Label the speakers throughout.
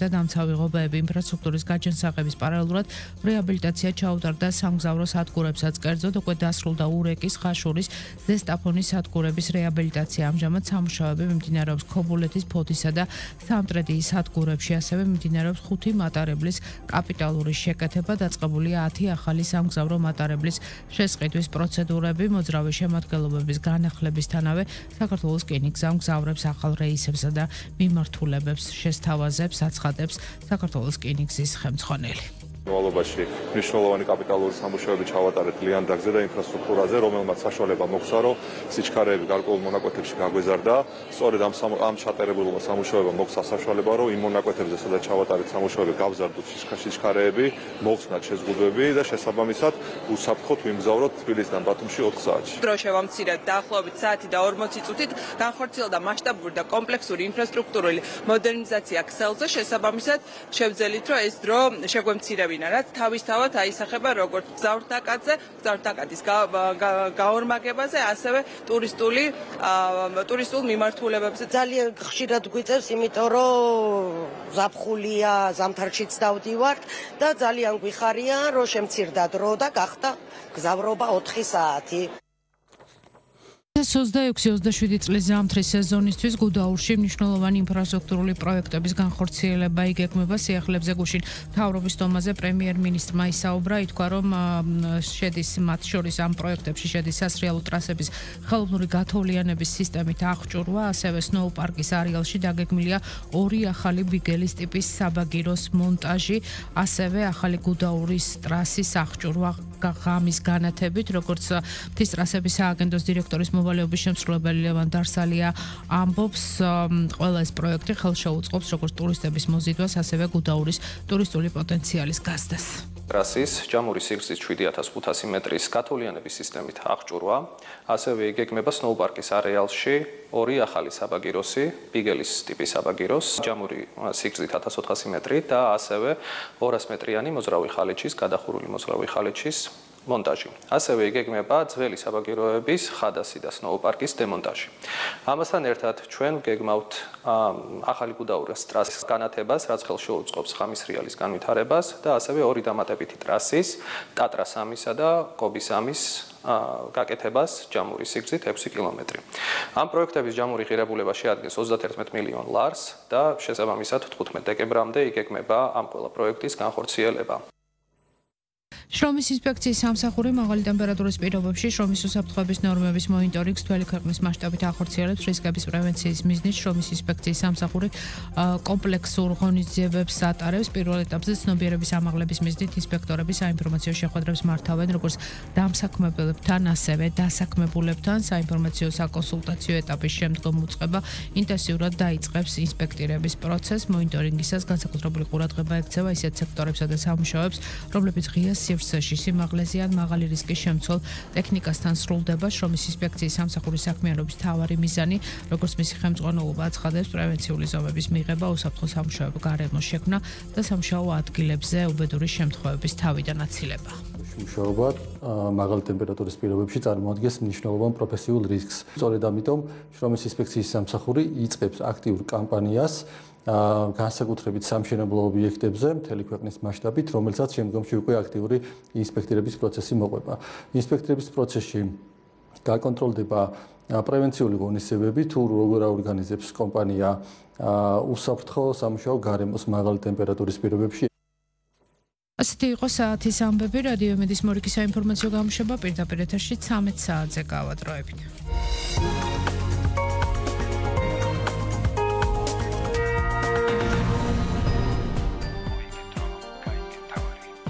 Speaker 1: და დამცავი ღობეები ინფრასტრუქტურის გაჯანსაღების პარალელურად რეაბილიტაცია ჩაუტარდა სამგზავრო სადგურებსაც. კერძოდ უკვე დასრულდა ურეკის, ხაშურის, ზესტაფონის სადგურების რეაბილიტაცია. ამჟამად სამუშაოები მიმდინარეობს ქობულეთის, ფოთისა და სამტრედიის სადგურებში, ასევე მიმდინარეობს 5 მატარებლის კაპიტალური შეკეთება, დაწყებულია 10 ახალი სამგზავრო მატარებლის შესყიდვის პროცედურები, მოძრავი შემადგენლობების განახლებისთანავე საქართველოს რკინიგზა მგზავრებს ახალ რეისებსა და მიმართულებებს შესთავაზებს, აცხადებს საქართველოს რკინიგზის ხელმძღვანელი.
Speaker 2: ვალობაში მნიშვნელოვანი კაპიტალური სამუშაოები ჩავატარეთ ლიანდაგზე და ინფრასტრუქტურაზე, რომელმაც საშუალება მოგვცა, რომ სიჩქარეები გარკვეულ მონაკვეთებში გაგვეზარდა. სწორედ ამ ჩატარებულ სამუშაოებამ მოგვცა საშუალება, რომ იმ მონაკვეთებზე, სადაც ჩავატარეთ სამუშაოები, გავზარდოთ სიჩქარეები, მოხსნათ შეზღუდვები და შესაბამისად უსაფრთხოდ ვიმგზავროთ თბილისიდან ბათუმში 4 საათში.
Speaker 3: დრო შევამცირეთ დაახლოებით საათი და 40 წუთით, განხორციელდა მასშტაბური და კომპლექსური ინფრასტრუქტურული მოდერნიზაცია ქსელზე, შესაბამისად შევძელით, რომ ეს დრო შეგვემცირებინა, რაც თავისთავად აისახება როგორც გზავრთნაკადის გაორმაგებაზე, ასევე ტურისტულ მიმართულებებზე.
Speaker 4: ძალიან ხშირად გვიწევს, იმიტომ რომ ზაფხულია, ზამთარშიც დავდივართ და ძალიან გვიხარია, რომ შემცირდა დრო და გახდა გზავრობა 4 საათი.
Speaker 1: 26-27 წლის ზამთრის სეზონისთვის გუდაურში მნიშვნელოვანი ინფრასტრუქტურული პროექტების განხორციელება იგეგმება. სიახლეებზე გუშინ მთავრობის დომაზე პრემიერ-მინისტრმა ისაუბრა, ითქვა, რომ შედის მათ შორის ამ პროექტებში შედის სასრიალო ტრასების ხელოვნური გათოვლიანების სისტემით აღჭურვა, ასევე სნოუ პარკის არეალში დაგეგმილია 2 ახალი ბიგელის ტიპის საბაგიროს მონტაჟი, ასევე ახალი გუდაურის ტრასის აღჭურვა ღამის განათებით, როგორც მთის ტრასების სააგენტოს დირექტორის მოვალეობის შემსრულებელი ლევან დარსალია ამბობს, ყველა ეს პროექტი ხელშეუწყობს როგორც ტურისტების მოზიდვას, ასევე გუდაურის ტურისტული პოტენციალის გაზრდას.
Speaker 5: ტრასის ჯამური სიგრძის 7500 მეტრის გათოვლიანების სისტემით აღჭურვა, ასევე იგეგმება სნოუ პარკის არეალში 2 ახალი საბაგიროსი, ბიგელის ტიპის საბაგიროს, ჯამური სიგრძით 1400 მეტრი და ასევე 200 მეტრიანი მოძრავი ხალიჩის, გადახურული მოძრავი ხალიჩის მონტაჟი. ასევე იგეგმება ძველი საბაგიროების ხადასი და სნოუ პარკის დემონტაჟი. ამასთან ერთად ჩვენ გეგმავთ ახალი გუდაურის ტრასის განათებას, რაც ხელშეუწყობს ღამის რეალის განვითარებას და ასევე 2 დამატებითი ტრასის, ტატრა 3-ისა და კობი 3-ის გაკეთებას ჯამური სიგრძით 6 კილომეტრი. ამ პროექტების ჯამური ღირებულება შეადგენს 31 მილიონ ლარს და შესაბამისად 15 დეკემბრამდე იგეგმება ამ ყველა პროექტის განხორციელება.
Speaker 1: შრომის ინსპექციის სამსახური მაღალი ტემპერატურის პირობებში შრომის უსაფრთხოების ნორმების მონიტორინგს მთელი ქვეყნის მასშტაბით ახორციელებს. რისკების პრევენციის მიზნით შრომის ინსპექციის სამსახური კომპლექსურ ღონისძიებებს ატარებს. პირველ ეტაპზე ცნობიერების ამაღლების მიზნით ინსპექტორები საინფორმაციო შეხვედრებს მართავენ როგორც დამსაქმებელებთან, ასევე დასაქმებულებთან. საინფორმაციო საკონსულტაციო ეტაპის შემდგომ უწყება ინტენსიურად დაიწყებს ინსპექტირების პროცესს. მონიტორინგისას განსაკუთრებული ყურადღება ექცევა ისეთ სექტორებსა და სამუშაოებს, რომლებიც ღია სივრცეში სიმაღლეზე ან მაღალი რისკის შემცველ ტექნიკასთან სრულდება. შრომის ინსპექციის სამსახურის საქმიანობის მთავარი მიზანი, როგორც მისი ხელმძღვანელობა აცხადებს, პრევენციული ზომების მიღება, უსაფრთხო სამუშაოების გარემოს შექმნა და სამუშაო ადგილებზე უბედური შემთხვევების თავიდან აცილება.
Speaker 6: მუშაობა მაღალი ტემპერატურის პირობებში წარმოადგენს მნიშვნელოვან პროფესიულ რისკს. სწორედ ამიტომ შრომის ინსპექციის სამსახური იწყებს აქტიურ კამპანიას განსაკუთრებით სამშენებლო ობიექტებზე მთელი ქვეყნის მასშტაბით, რომელსაც შემდგომში უკვე აქტიური ინსპექტირების პროცესი მოყვება. ინსპექტირების პროცესში გაკონტროლდება პრევენციული ღონისძიებები, თუ როგორ აორგანიზებს კომპანია უსაფრთხო სამუშაო გარემოს მაღალი ტემპერატურის პირობებში.
Speaker 1: ასეთი იყო საათის ამბები. რადიო იმედის მორიგი საინფორმაციო გამოშვება პირდაპირ ეთერში 13 საათზე გავადროებით.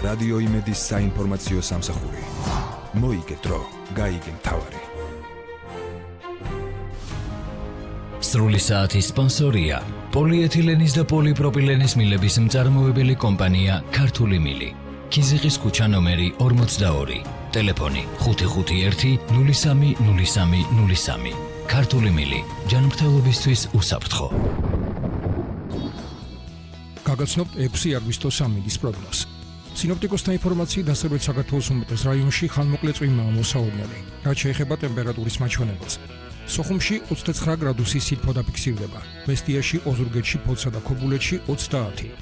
Speaker 7: რადიო იმედის საინფორმაციო სამსახური. მოიგე დრო, გაიგე მთავარი.
Speaker 8: სრული საათის სპონსორია პოლიეთილენის და პოლიპროპილენის მილების მწარმოებელი კომპანია ქართული მილი. ქიზიყის ქუჩა ნომერი 42. ტელეფონი 551 03 03 03. ქართული მილი. ჯანმრთელობისთვის უსაფრთხო.
Speaker 9: გაგაცნობთ 6 აგვისტოს ამინდის პროგნოზი. სინოპტიკოსთა ინფორმაციით დასავლეთ საქართველოს უმეტეს რაიონში ხანმოკლე წვიმაა მოსაუბნელი, რაც შეეხება ტემპერატურის მაჩვენებელს. სოხუმში 29 გრადუსი სითბო დაფიქსირდება, მესტიაში, ოზურგეთში, ფოთსა და ქობულეთში 30,